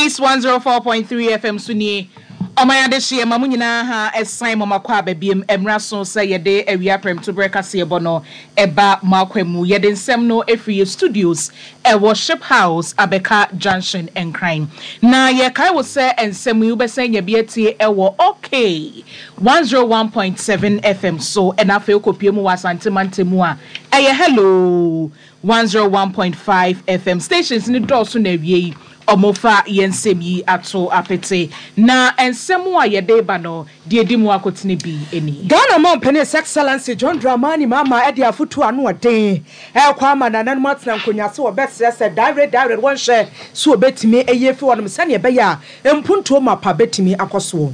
Peace 104.3 FM so nie. Ɔman adehyeɛ ma mo nyinaa ha ɛsan mo makɔ aba biem. Ɛmmra so sɛ yɛde awia prɛmtoberɛ kaseɛbɔ no ɛba mo akwa mu. Yɛde nsɛm no ɛfiri yɛ studios ɛwɔ Ship House Abɛka Junction Nkran. Na yɛkae wo sɛ nsɛm yi wobɛsan anya bi atie ɛwɔ OK 101.7 FM so ɛna afei wokɔpue mu wɔ Asante mantam mu a ɛyɛ Hello 101.5 FM. Stations no dɔɔso na awiei wɔfa yɛn nsɛm yi ato apete. Na nsɛm a yɛde reba no, deɛ ɛdi mu akotene bi ni. Ghana Mampanin His Excellency John Dramani Mahama de afotuo a ano ɔden rekɔ ama nananom atena nkonnwa ase wɔbɛsrɛ sɛ daawere daawere wɔnhwɛ sɛ wɔbɛtumi ayi afi hɔnom sɛdeɛ ɛbɛyɛ a mpuntuo mapa bɛtumi akɔ soɔ.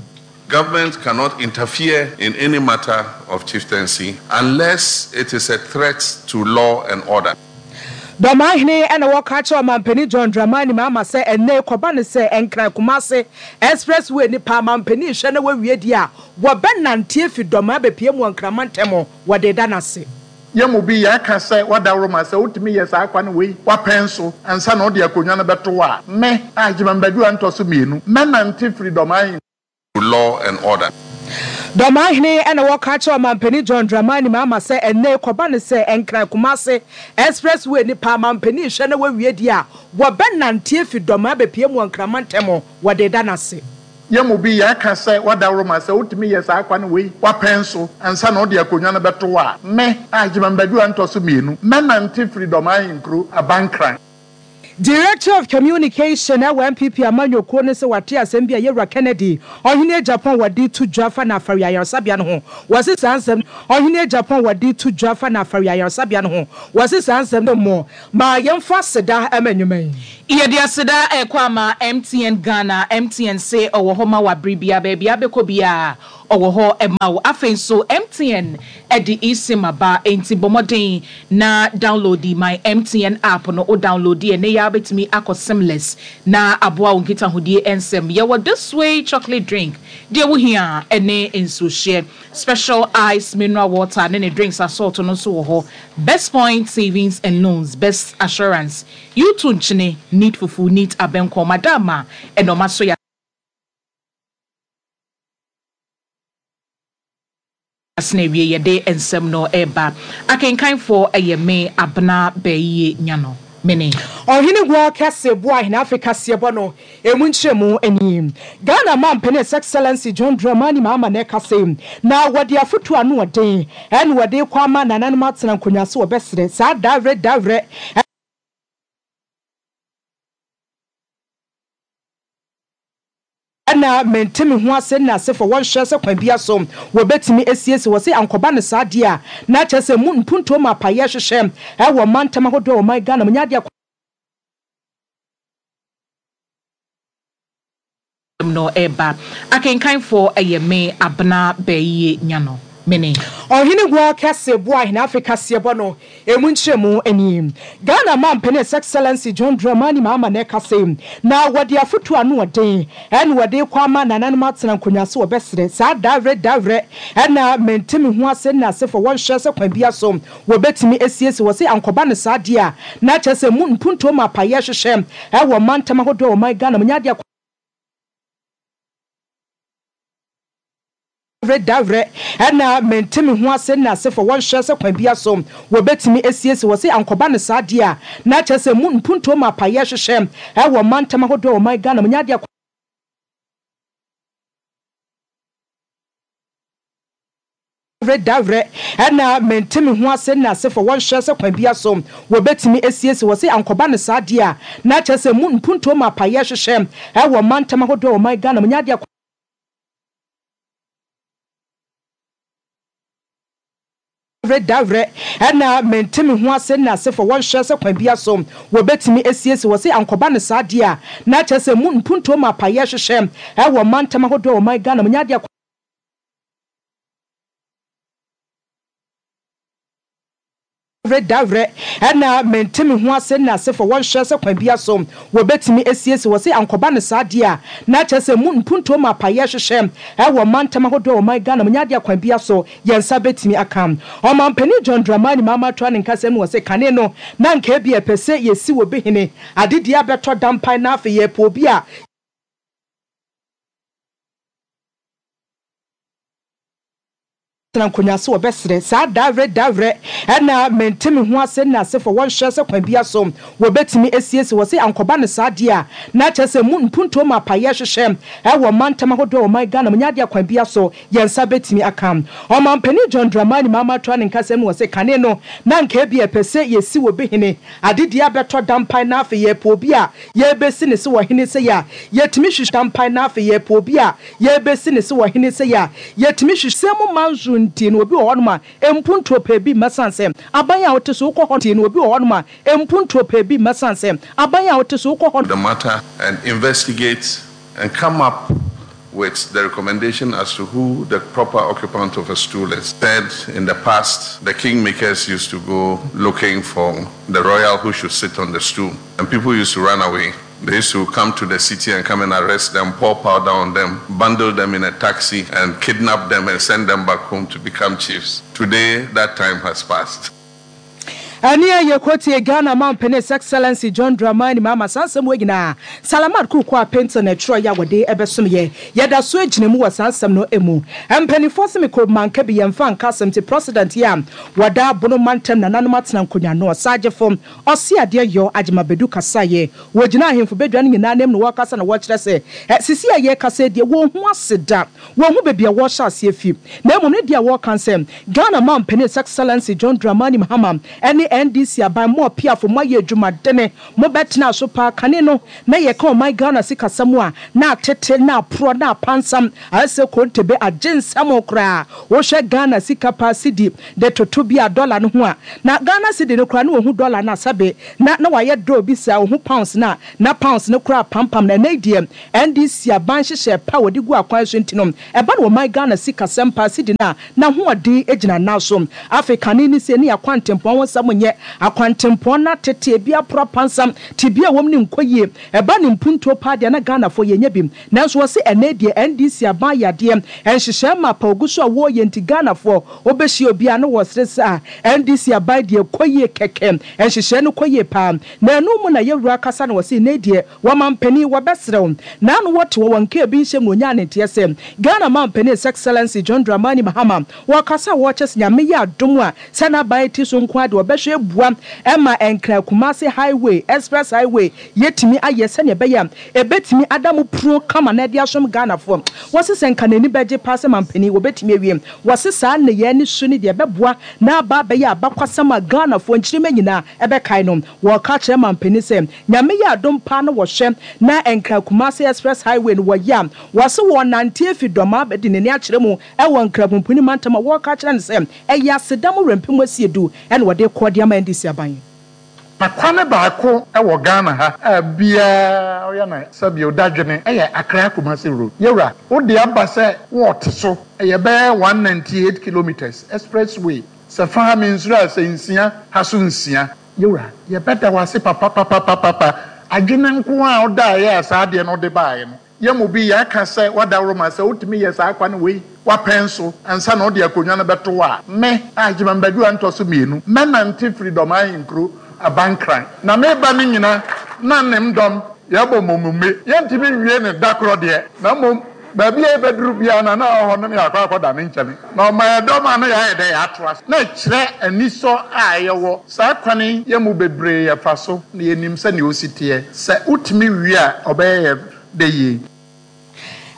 Government cannot interfere in any matter of chieftaincy unless it is a threat to law and order. Dɔmahene na wɔka akyerɛ Ɔmanpanin John Dramani Mahama sɛ ɛnnɛ yi kɔba no sɛ Nkran Kumase Express Way nipa amanpanin hwɛ na wawie deɛ a wɔbɛnante afi Dɔmaa abɛpue mu wɔ Nkran mantam wɔde reda no ase. Yɛn mu bi yɛka sɛ wadaworo sɛ wotumi yɛ saa kwan wei wapɛn so ansa na wode akonnwa no bɛto hɔ a, me, Agyemang Badu a ntɔ so mmienu, mɛnante firi Dɔmaa law and order. Dɔmahene na wɔka akyerɛ Ɔmanpanin John Dramani Mahama sɛ ɛnnɛ yi kɔba no sɛ Nkran Kumase Express Way nipa amanpanin hwɛ na wawie deɛ a wɔbɛnante afi Dɔmaa abɛpue mu wɔ Nkran mantam wɔde reda no ase. Yɛn mu bi yɛka sɛ wadaworo sɛ wotumi yɛ saa kwan wei wapɛn so ansa na wode akonnwa no bɛto hɔ a, me, Agyemang Badu a ntɔ so mmienu, mɛnante firi Dɔmaa Ahenkuro aba Nkran. Director of Communication wɔ NPP amanyɔkuo no sɛ wate asɛm bi a Yɛwura Kennedy Ɔhene Agyapong wɔde to dwa fa Nafari ayaresabea no ho. Wɔse saa nsɛm Ɔhene Agyapong wɔde to dwa fa Nafari ayaresabea no ho. Wɔse saa nsɛm no mmɔ ma yɛmfa aseda ma nnwuma yi. Yɛde aseda rekɔ ama MTN Ghana, MTN se ɔwɔ hɔ ma wo abere biara, baabi a wobɛkɔ biara ɔwɔ hɔ ma wo. Afei nso MTN de eSIM aba, enti bɔ mmɔden na downloadi My MTN app no, wo downloadi a ɛnnɛ yi ara wobɛtumi akɔ SIMless na aboa wo nkitahodie nsɛm. Yɛwɔ This Way chocolate drink, deɛ wohia ne nsuohyeɛ, Special Ice mineral water ne ne drinks asɔɔto no nso wɔ hɔ, Best Point Savings and Loans, Best Assurance, U-two nkyene, Neat fufu, Neat abɛnkɔn, Madama ɛna ɔma so yɛ. Asene awie yɛde nsɛm no reba. Akenkanfoɔ yɛ me Abena Bɛyie Nyano. Mene. Ɔhene Guo Kɛse Boahene Afe Kaseɛbɔ no ɛmu nkyerɛmu nie. Ghana Mampanin His Excellency John Dramani Mahama na ɛkasa yi na wɔde afotuo ano ɔden ɛna wɔde rekɔ ama nananom atena nkonnwa so wɔbɛsrɛ saa dawerɛ dawerɛ Ɛna mente me ho ase ne asefo wɔnhwɛ sɛ kwan bia so wɔbɛtumi asiesie wɔ se ankɔba no saa deɛ a na kyerɛ sɛ mu mpuntuo ma apaeɛ hwehwɛ ɛwɔ mantam ahodoɔ wɔ ɔman Ghana mu nyɛ adeɛ no reba. Akenkanfoɔ yɛ me Abena Bɛyie Nyano. Mene. Ɔhene Guo Kɛse Boahene Afe Kaseɛbɔ no Emu nkyerɛmu nie. Ghana Mampanin His Excellency John Dramani Mahama na ɛkasa yi, na wɔde afotuo ano ɔden ɛna wɔde rekɔ ama nananom atena nkonnwa so wɔbɛsrɛ saa dawerɛ dawerɛ ɛna mente me ho ase ne asefo wɔnhwɛ sɛ kwan bia so wɔbɛtumi asiesie wɔ se ankɔba no saa deɛ a na kyerɛ sɛ mu mpuntuo ma apayɛ hwehwɛ ɛwɔ mantam ahodoɔ wɔ ɔman Ghana mu nyɛ adeɛ Dawerɛ dawerɛ na mente me ho ase ne asefo wɔnhwɛ sɛ kwan bia so wɔbɛtumi asiesie wɔ se ankɔba no saa deɛ a na kyerɛ sɛ mu mpuntuo ma apayɛ hwehwɛ ɛwɔ mantam ahodoɔ wɔ ɔman Ghana mu nyɛ adeɛ Dawerɛ dawerɛ na mente me ho ase ne asefo wɔnhwɛ sɛ kwan bia so wɔbɛtumi asiesie wɔ se ankɔba no saa deɛ a na kyerɛ sɛ mu mpuntuo ma apayɛ hwehwɛ ɛwɔ mantam ahodoɔ wɔ ɔman Ghana mu nyɛ adeɛ Dawerɛ dawerɛ na mente me ho ase ne asefo wɔnhwɛ sɛ kwan bia so wɔbɛtumi asiesie wɔ se ankɔba no saa deɛ a na kyerɛ sɛ mu mpuntuo ma apayɛ hwehwɛ ɛwɔ mantam ahodoɔ wɔ ɔman Ghana mu nyɛ adeɛ Dawerɛ dawerɛ na mente me ho ase ne asefo wɔnhwɛ sɛ kwan bia so wɔbɛtumi asiesie wɔ se ankɔba no saa deɛ a na kyerɛ sɛ mu mpuntuo ma apayɛ hwehwɛ ɛwɔ mantam ahodoɔ wɔ ɔman Ghana mu nyɛ adeɛ kwan bia so yɛn nsa bɛtumi aka. Ɔmanpanin John Dramani Mahama toa ne nkasɛm no wɔ se kane no na anka ebia ɛpɛ sɛ yɛsi obi hene adedie abɛtɔ dampan na afei yɛpɛ obi a. Tena nkonnwa so wɔbɛsrɛ saa dawerɛ dawerɛ ɛna mente me ho ase nna ase fɔ wɔnhwɛ sɛ kwan bia so wɔbɛtumi asiesie wɔ se ankɔba no saa deɛ a na kyerɛ sɛ mu mpuntuo ma apayɛ hwehwɛ ɛwɔ mantam ahodoɔ wɔ man Ghana mu nyɛ adeɛ a kwan bia so yɛn nsa bɛtumi aka. Ɔmanpanin John Dramani Mahama toa ne nkasɛm no wɔ se kane no na anka ebia yɛpɛ sɛ yɛsi obi hene adedie abɛtɔ dampan na afei yɛpɛ obi a yɛbɛsi ne se wɔ hene sei a yɛtumi hwehwɛ dampan na afei yɛpɛ obi a Yɛrebɛsi no sɛ ɔhene sɛi a, yɛtumi hwehwɛ. Sɛ mo man so nti no obi wɔ hɔnom a, mpuntuo pɛ bi mma sane sɛ aban a wote so wokɔ hɔ nti no obi wɔ hɔnom a, mpuntuo pɛ bi mma sane sɛ aban a wote so wokɔ hɔ. The matter and investigate and come up with the recommendation as to who the proper occupant of a stool is. Said in the past, the kingmakers used to go looking for the royal who should sit on the stool, and people used to run away. They used to come to the city and come and arrest them, pour powder on them, bundle them in a taxi, and kidnap them and send them back home to become chiefs. Today, that time has passed. Ɛne a yɛkɔtie Ghana Mampanin His Excellency John Dramani Mahama saa nsɛm wei nyinaa Salamat Kuukua Painter na ɛtwerɛeɛ a wɔde bɛsom yɛn. Yɛda so gyina mu wɔ saa nsɛm no mu. Mpaninfoɔ se mekɔ manka bi yɛmfa nka asɛm nti President yi a wɔda Bono mantam nananom atena nkonwa no Ɔsagyefo Ɔse adeɛ yɔ Agyema Badu kasaeɛ Wɔgyinaa ahemfo badwa no nyinaa anim na wɔrekasa na wɔrekyerɛ sɛ, Seesei a yɛrekasa yi deɛ, wɔnhu ase da. Wɔnhu baabi a wɔrehyɛ aseɛ fi. Na mmom ne deɛ wɔreka ne sɛ, Ghana Mampanin His Excellency John Dramani Mahama ne NDC aban, mo apiafo, moayɛ adwumadene, mobɛtenaa so paa. Kane no, na yɛka ɔman Ghana sikasɛm a, na atete, na aporɔ, na apansam, ayɛ sɛ kontebe, agye nsam koraa. Wohwɛ Ghana sika paa, cedi, de toto bi a dɔla no ho a, na Ghana cedi no koraa na wɔhu dɔla no a sɛbe na na wayɛ dɔɔ bi saa, ɔhu pounds no a na pounds no koraa apampam no. Ɛnnɛ yi deɛ NDC aban nhyehyɛɛ pa a wɔde gu akwan so nti no, ɛba no ɔman Ghana sikasɛm paa, cedi no a n'ahoɔden gyina nan so. Afei kane ne sei ne akwantempɔn ho nsɛm nyɛ, akwantempɔn no atete, ebi aporo apansam, tebea a ɛwɔ mu no nkɔ yie. Ɛba no mpuntuo paa deɛ na Ghanafoɔ yɛnyɛ bi. Nanso wɔse ɛnnɛ yi deɛ NDC aban ayɛ adeɛ, nhyehyɛɛ mapa a ɔgu so a wɔreyɛ nti Ghanafoɔ Wobɛhyia obi a na wɔsere sɛ ah NDC aban deɛ ɛkɔ yie kɛkɛ, nhyehyɛɛ no kɔ yie paa. Na ɛno mu na yɛwura kasa na wɔse nnɛ yi deɛ wɔmampanin wɔbɛsrɛ wo. Na ano wɔte hɔ wɔn nkaa bi nhyɛm na ɔnyaa ne nteɛ sɛ Ghana manpanin His Excellency John Dramani Mahama wɔkasa a wɔkyɛ sɛ Nyame yɛ adom a sɛ n'aban ti so nko ara deɛ wɔbɛhwɛ abua ma Nkran Kumasi Highway, Express Highway, yɛtumi ayɛ sɛdeɛ ɛbɛyɛ a ɛbɛtumi ada mo pruo kama na ɛde asom Ghanafoɔ. Wɔse sɛ nka n'ani bɛgye paa sɛ manpanin wɔbɛtumi awie. Wɔse saa nneyɛɛ ne su ne deɛ ɛbɛboa na aba abɛyɛ abakwasɛm a Ghanafoɔ nkyirimma nyinaa ɛbɛkae no. Wɔka kyerɛ manpanin sɛ Nyame yɛ adom paa na wɔhwɛ na Nkran Kumasi Express Highway no wɔyɛ a, wɔse wɔnante afi Dɔmaa bɛde n'ani akyerɛ mu wɔ Nkran Pumpuni mantam a wɔka kyerɛ no sɛ ɛyɛ aseda mu werɛmpem asiedu na wɔde rekɔ de ama NDC aban. Na kwane baako wɔ Ghana ha a biaa ɔyɛ no sɛbio dadwene yɛ Accra Kumasi road. Yɛwura, wo de aba sɛ wɔɔte so, ɛyɛ bɛyɛ 198 kilometres express way, sɛ fa ha mensuro a sɛ nsia ha so nsia. Yɛwura, yɛbɛda wo ase papapapapapa, adwene nko ara a wodaeɛ a saa adeɛ no wode baeɛ no, Yɛn mu bi yɛaka sɛ w'adaworoma sɛ wotumi yɛ saa kwan wei w'apɛn so ansa na wode akonnwa no bɛto hɔ a, me, Agyemang Badu a ntɔ so mmienu, mɛnante firi Dɔm Ahenkuro aba Nkran. Na meba no nyina na ne mdɔm yɛbɔ momume. Yɛntumi nwie no da korɔ deɛ, na mmom baabi a yɛbɛduru biara no na ɔwɔ hɔ no na yɛakɔ akɔda ne nkyɛne. Na ɔma yɛn dɔm a na yɛayɛ dɛ yɛatoa so. Na ɛkyerɛ anisɔ a yɛwɔ. Saa kwan yi yɛn mu bebree yɛfa so na yɛnim sɛnea osi teɛ. Sɛ wotumi wie a ɔbɛyɛ yɛn dɛ yie.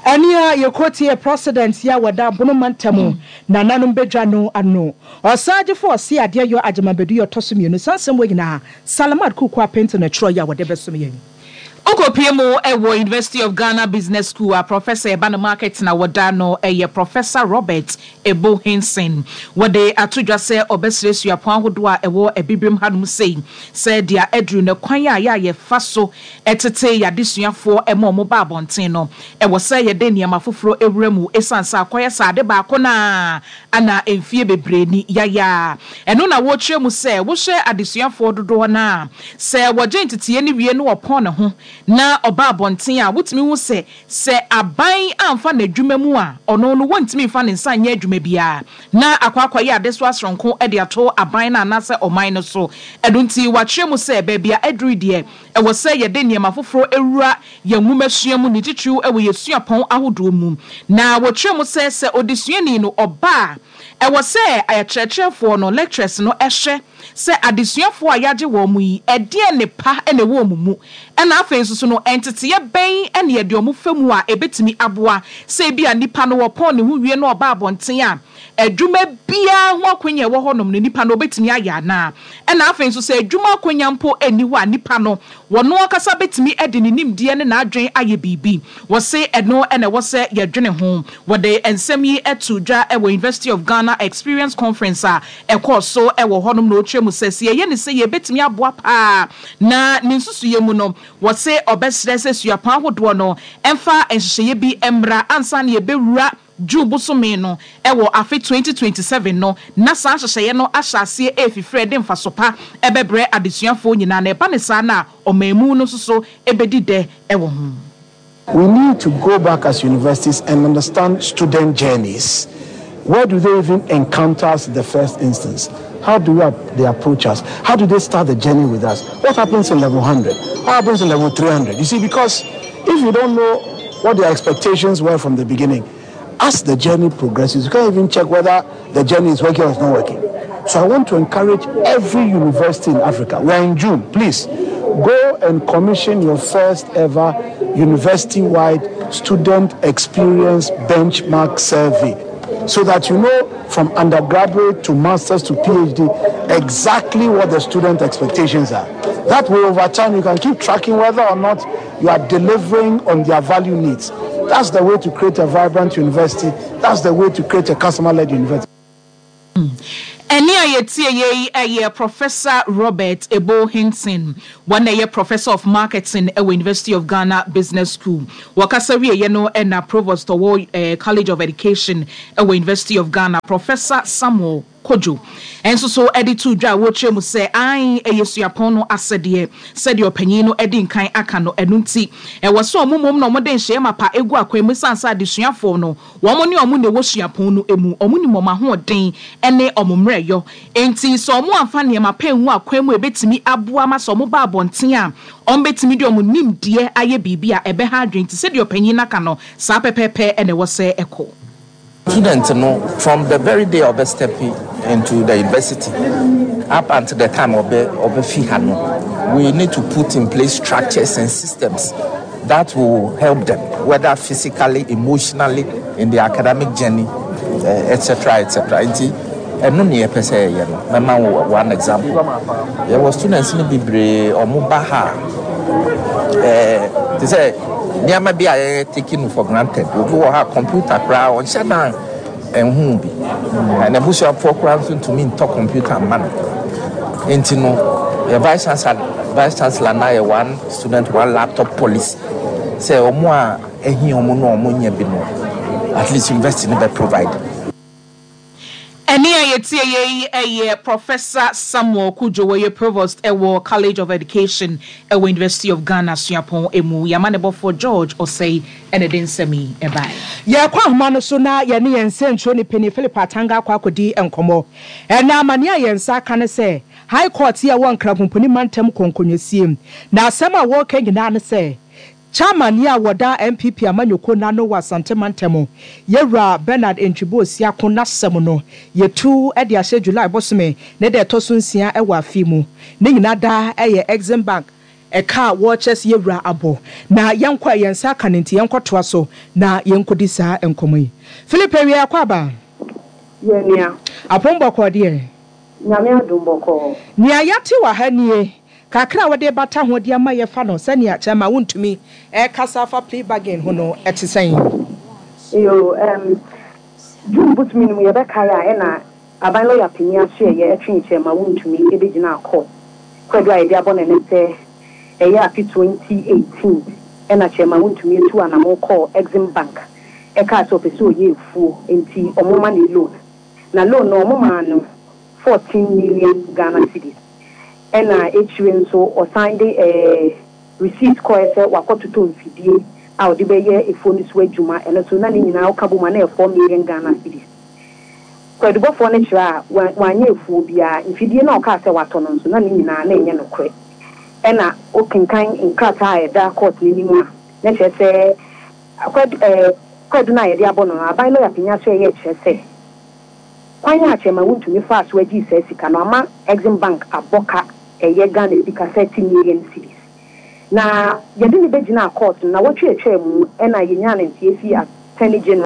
Ɛnea yɛkɔtiee President yi a wɔda Bono mantam nananom badwa no ano. Ɔsaagyefo ɔse adeɛ yɔ Agyeman Badu yɛ ɔtɔ so mmienu. Saa nsɛm wei nyinaa Salamat Kuku Apente na ɛtwerɛeɛ a wɔde bɛsom yɛn. Wokɔpue mu wɔ University of Ghana Business School a Professor ɛba no market na wɔda no yɛ Professor Robert Ebo Hinson. Wɔde ato dwa sɛ ɔbɛsrɛ suapɔn ahodoɔ a ɛwɔ Abibirem hanom sei sɛ deɛ aduru no kwan a yɛ a yɛfa so tete yɛn adesuafoɔ ma wɔn ba abɔnten no, ɛwɔ sɛ yɛde nneɛma foforɔ wura mu ɛsiane sɛ akɔyɛ sɛ ade baako no ara na mfeɛ bebree ni yɛayɛ a. Ɛno na wɔrekyerɛ mu sɛ wohwɛ adesuafoɔ dodoɔ no ara a, sɛ wɔgye nteteeɛ no wie na wɔpɔn ne ho na ɔba abɔnten a, wotumi hu sɛ, sɛ aban amfa no adwuma mu a, ɔno no wɔntumi mfa ne nsa nyɛ adwuma biara na akɔ akɔyɛ adesoa soronko de ato aban no anaasɛ ɔman no so. Ɛno nti wɔakyerɛ mu sɛ baabi a aduru yi deɛ, ɛwɔ sɛ yɛde nneɛma foforɔ wura yɛn nwomasua mu, ne titiriw wɔ yɛn suapɔn ahodoɔ mu. Na wɔkyerɛ mu sɛ, sɛ odesuani no ɔba a, Ɛwɔ sɛ akyerɛkyerɛfoɔ no, lecturers no, hwɛ sɛ adesuafoɔ a yɛagye wɔn yi, ɛdeɛn nnepa na ɛwɔ wɔn mu, ɛna afei nso so no, nteteeɛ bɛn na yɛde wɔn fa mu a ɛbɛtumi aboa sɛ ebia nipa no wɔpɔn ne ho wie na ɔba abɔnten a, adwuma biara ho akwanya a ɛwɔ hɔnom no, nipa no ɔbɛtumi ayɛ anaa? Ɛna afei nso sɛ adwuma akwanya mpo nni hɔ a, nipa no, ɔno ankasa bɛtumi de ne nimdeɛ ne n'adwene ayɛ biribi. Wɔse ɛno na ɛwɔ sɛ yɛdwene ho. Wɔde nsɛm yi too dwa wɔ University of Ghana Experience Conference a ɛkɔɔ so wɔ hɔnom na ɔkyerɛ mu sɛ, sɛ yɛyɛ no sei a ɛbɛtumi aboa pa ara. Na ne nsusuiɛ mu no, wɔse ɔbɛsrɛ sɛ suapɔn ahodoɔ no mfa nhyehyɛeɛ bi mmra ansa na yɛbɛwura June bosome no wɔ afe 2027 no, na saa nhyehyɛeɛ no ahyɛ aseɛ refifiri de mfaso pa bɛbrɛ adesuafoɔ nyinaa, na ɛba no saa no a, ɔmanmu no nso so bɛdi dɛ wɔ ho. We need to go back as universities and understand student journeys. Where do they even encounter us in the first instance? How do we, they approach us? How do they start the journey with us? What happens in level 100? What happens in level 300? You see, because if you don't know what their expectations were from the beginning, as the journey progresses, you can't even check whether the journey is working or it's not working. So I want to encourage every university in Africa. We are in June. Please go and commission your first ever university wide student experience benchmark survey so that you know from undergraduate to master's to PhD exactly what the student expectations are. That way, over time, you can keep tracking whether or not you are delivering on their value needs. That's the way to create a vibrant university. That's the way to create a customer led university. Ɛnne a yɛtieeɛ yi yɛ Professor Robert Ebo Hinton. Wɔn na ɛyɛ Professor of Marketing wɔ University of Ghana Business School. Wɔkasa wieeɛ no na Provost ɔwɔ College of Education wɔ University of Ghana, Professor Samuel Kojo nso so de too dwa a wɔrekyerɛ mu sɛ aane ɛyɛ suapɔn no asɛdeɛ sɛdeɛ ɔpanyin no adi nkan aka no, ɛno nti ɛwɔ sɛ wɔn mmom na wɔde nhyɛeɛ mapa gu akwan mu ɛsiane sɛ adesuafoɔ no Wɔn ne wɔn na ɛwɔ suapɔn no mu, wɔnim wɔn ahoɔden ne wɔn mmerɛyɔ. Enti sɛ wɔamfa nneɛma pa angu akwan mu a ɛbɛtumi aboa ma sɛ wɔba abɔnten a, wɔbɛtumi de wɔn nimdeɛ ayɛ biribi a ɛbɛha adwene. Nti sɛdeɛ ɔpanyin no aka no, saa pɛpɛɛpɛ na ɛwɔ sɛ ɛkɔ. Student no from the very day a ɔbɛ step into the university up until the time ɔbɛ ɔbɛfi ha no, we need to put in place structures and systems that will help them whether physically, emotionally, in their academic journey, etc. etc. Nti ɛno ne yɛpɛ sɛ yɛyɛ no. Mɛma wo one example. Yɛwɔ students no bebree ɔmo ba ha a ɛɛ te sɛ nneɛma bi a yɛyɛ taking for granted. Obi wɔ ha computer koraa ɔnhyɛ dan Ɛnhuu bi. Na n'abusuafoɔ koraa nso ntumi ntɔ kɔmputa mma no. Enti no, yɛ Vice Chancellor, Vice Chancellor no ayɛ one student, one laptop policy sɛ wɔn a ahia wɔn no a wɔnnya bi no, at least university no bɛ provide. Ɛnne a yɛtieeɛ yi yɛ Professor Samuel Cudjoe, ɔyɛ Provost wɔ College of Education wɔ University of Ghana suapɔn mu. Yɛn amanebɔfoɔ George Osei na ɛde nsɛm yi baeɛ. Yɛrekɔ ahoma no so na yɛne yɛn nsɛnkyerɛwni panin Philip Atanga akɔ akɔdi nkɔmmɔ. Ɛnnɛ amanneɛ a yɛn nsa aka ne sɛ, High Court yi a ɛwɔ Nkrabomponi mantam kɔnkɔnwasie, na asɛm a wɔreka nyinaa ne sɛ, Chairman yi a wɔda NPP amanyɔkuo no ano wɔ Asante mantam, Yɛwura Bernard Ntwibo Osiako n'asɛm no, yɛtu de ahyɛ July bosome ne da ɛtɔ so nsia wɔ afe mu. Ne nyinaa da yɛ Exim Bank Ɛka a wɔrekyerɛ sɛ yɛn wura abɔ na yɛnkɔ a yɛn nsa aka no nti, yɛnkɔtoa so na yɛnkɔdi saa nkɔmmɔ yi. Philip awia yɛakɔ aba? Yɛ nua. Apom bɔkɔɔ deɛ? Nyame adom bɔkɔɔ. Nea yɛate wɔ ha nie, kakra a wode bata ho de ama yɛfa no sɛnea kyɛrema wontumi rekasa afa plea bargain ho no ɛte sɛn? Yoo, ɛɛm, June bosome no mu yɛbɛkae a ɛna aban lɔya panin asoɛeɛ ɛtwee kyɛrema wontumi ɛbɛgyinaa court. Kwadu a yɛde abɔ no ne sɛ ɛyɛ afe 2018 ɛna Chairman Wontumi tuu anamon kɔɔ Exim Bank ɛkaa sɛ ɔpɛ sɛ ɔyɛ afuo nti ɔmo ma no loan na loan no ɔmo maa no 14 million Ghana cedis ɛna akyire nso ɔsan de ɛɛ receipt kɔɛ sɛ wakɔ totɔ mfidie a ɔde bɛyɛ afuo no so adwuma ɛno nso na ne nyinaa woka bom a na ɛyɛ 4 million Ghana cedis. Kwaadubɔfoɔ no kyerɛ a, wanyɛ afuo biara. Mfidie no a ɔkaa sɛ watɔ no nso, na ne nyinaa na ɛnyɛ nokorɛ. Ɛna wokenkan nkrataa a ɛda kɔɔto no anim a, na kyerɛ sɛ kwaadu, ɛɛ, kwaadu no a yɛde abɔ no no, aban lɔya panin aso ɛyɛ kyerɛ sɛ, Kwan a Chairman Wontumi faa so agyee saa sika no ama Exim Bank abɔ ka ɛyɛ Ghana sika 30 million cedis. Na yɛde no bɛgyinaa court no, nnawɔtwe a ɛtwaa mu na yɛnyaa no nteɛ fii Attorney General.